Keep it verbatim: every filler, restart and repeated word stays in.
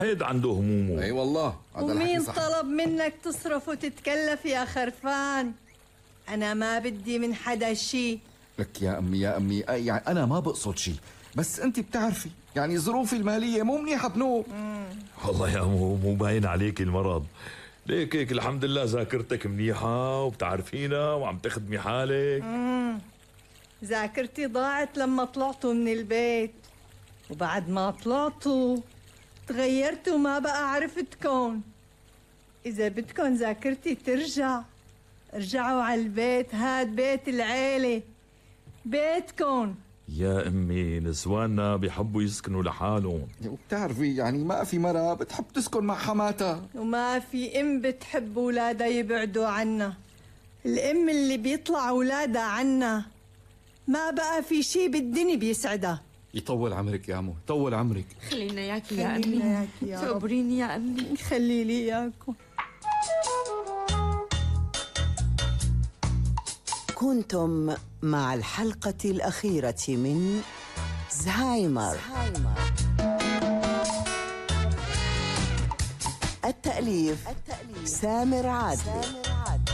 هيد عنده همومه. اي والله. ومين طلب منك تصرف وتتكلف يا خرفان؟ أنا ما بدي من حدا شي. لك يا أمي يا أمي يعني أنا ما بقصد شي، بس أنت بتعرفي يعني ظروفي المالية مو منيحة بنوب. والله يا مو مو باين عليك المرض، ليك هيك الحمد لله ذاكرتك منيحة وبتعرفينا وعم تخدمي حالك. مم. ذاكرتي ضاعت لما طلعتوا من البيت، وبعد ما طلعتوا تغيرتوا ما بقى عرفتكن. إذا بدكن ذاكرتي ترجع ارجعوا على البيت، هاد بيت العيلة بيتكن. يا أمي نسواننا بيحبوا يسكنوا لحالهم، وبتعرفي يعني ما في مرة بتحب تسكن مع حماتها، وما في أم بتحب أولادها يبعدوا عنا. الأم اللي بيطلع أولادها عنا ما بقى في شي بالدنيا بيسعدها. يطول عمرك يا عمو، يطول عمرك. خلينا ياكي يا أمي، صبريني يا أمي، خلي لي إياكم. كنتم مع الحلقة الأخيرة من زهايمر. التأليف سامر عادل،